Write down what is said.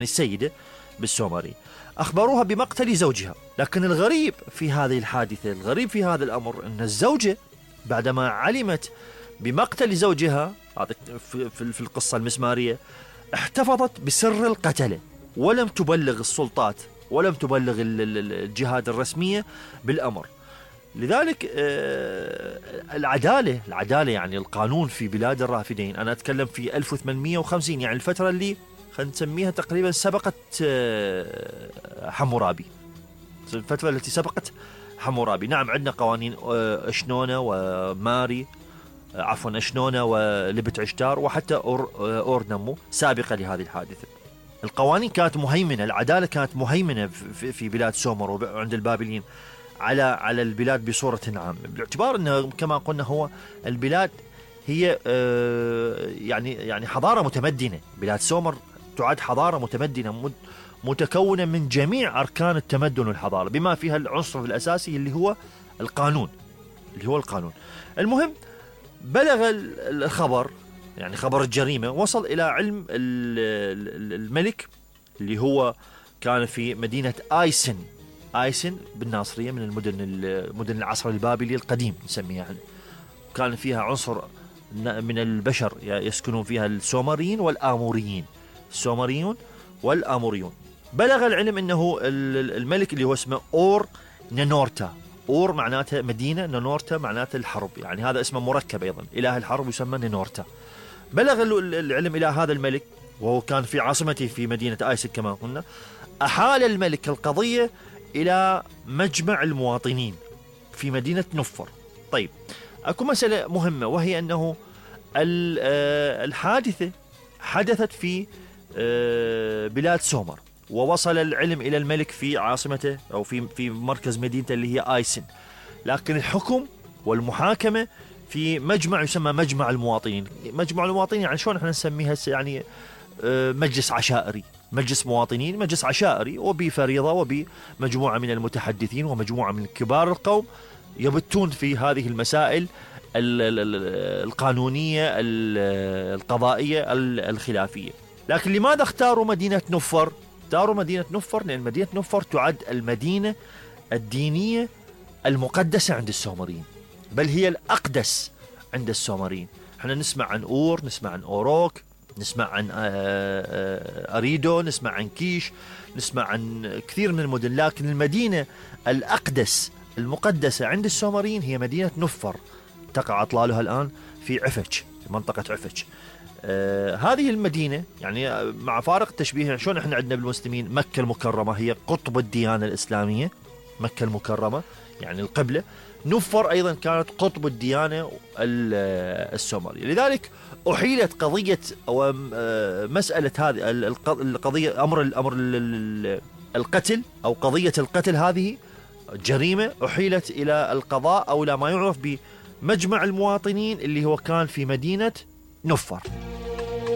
السيدة بالسومري، أخبروها بمقتل زوجها. لكن الغريب في هذه الحادثة، الغريب في هذا الأمر، أن الزوجة بعدما علمت بمقتل زوجها في القصة المسمارية احتفظت بسر القتلة، ولم تبلغ السلطات ولم تبلغ الجهات الرسمية بالأمر. لذلك العدالة يعني القانون في بلاد الرافدين، أنا أتكلم في 1850، يعني الفترة اللي خلينا نسميها تقريبا سبقت حمورابي، الفترة التي سبقت حمورابي. نعم عندنا قوانين أشنونة وماري، عفوا أشنونة ولبت عشتار وحتى أور نمو سابقة لهذه الحادثة. القوانين كانت مهيمنة، العدالة كانت مهيمنة في بلاد سومر وعند البابليين على البلاد بصورة عامة، باعتبار أنه كما قلنا هو البلاد هي يعني حضارة متمدنة. بلاد سومر تعد حضارة متمدنة متكونة من جميع أركان التمدن والحضارة، بما فيها العنصر الأساسي اللي هو القانون. المهم بلغ الخبر، يعني خبر الجريمة، وصل إلى علم الملك اللي هو كان في مدينة آيسن بالناصرية، من مدن العصر البابلي القديم نسميها يعني. كان فيها عنصر من البشر يسكنون فيها السومريين والآموريون. بلغ العلم أنه الملك اللي هو اسمه أور نينورتا، أور معناته مدينة، نينورتا معناته الحرب، يعني هذا اسمه مركب أيضا، إله الحرب يسمى نينورتا. بلغ العلم إلى هذا الملك، وهو كان في عاصمته في مدينة آيسن كما قلنا. أحال الملك القضية إلى مجمع المواطنين في مدينة نفر. طيب أكو مسألة مهمة، وهي أنه الحادثة حدثت في بلاد سومر، ووصل العلم إلى الملك في عاصمته أو في مركز مدينته اللي هي آيسن. لكن الحكم والمحاكمة في مجمع يسمى مجمع المواطنين. مجمع المواطنين يعني شلون احنا نسميها يعني مجلس عشائري، مجلس مواطنين، مجلس عشائري، وبفريضة وبمجموعة من المتحدثين ومجموعة من كبار القوم يبتون في هذه المسائل القانونية القضائية الخلافية. لكن لماذا اختاروا مدينة نفر؟ اختاروا مدينة نفر لأن مدينة نفر تعد المدينة الدينية المقدسة عند السومريين، بل هي الأقدس عند السومريين. احنا نسمع عن أور، نسمع عن أوروك، نسمع عن أريدو، نسمع عن كيش، نسمع عن كثير من المدن، لكن المدينة الأقدس المقدسة عند السومريين هي مدينة نفر، تقع أطلالها الآن في عفج، في منطقة عفج. هذه المدينة يعني مع فارق التشبيه، شلون احنا عندنا بالمسلمين مكة المكرمة هي قطب الديانة الإسلامية، مكة المكرمة يعني القبلة، نفر أيضا كانت قطب الديانة السومرية. لذلك أحيلت قضية أو مسألة هذه القضية، أمر القتل أو قضية القتل، هذه جريمة أحيلت إلى القضاء أو إلى ما يعرف بمجمع المواطنين اللي هو كان في مدينة نفر.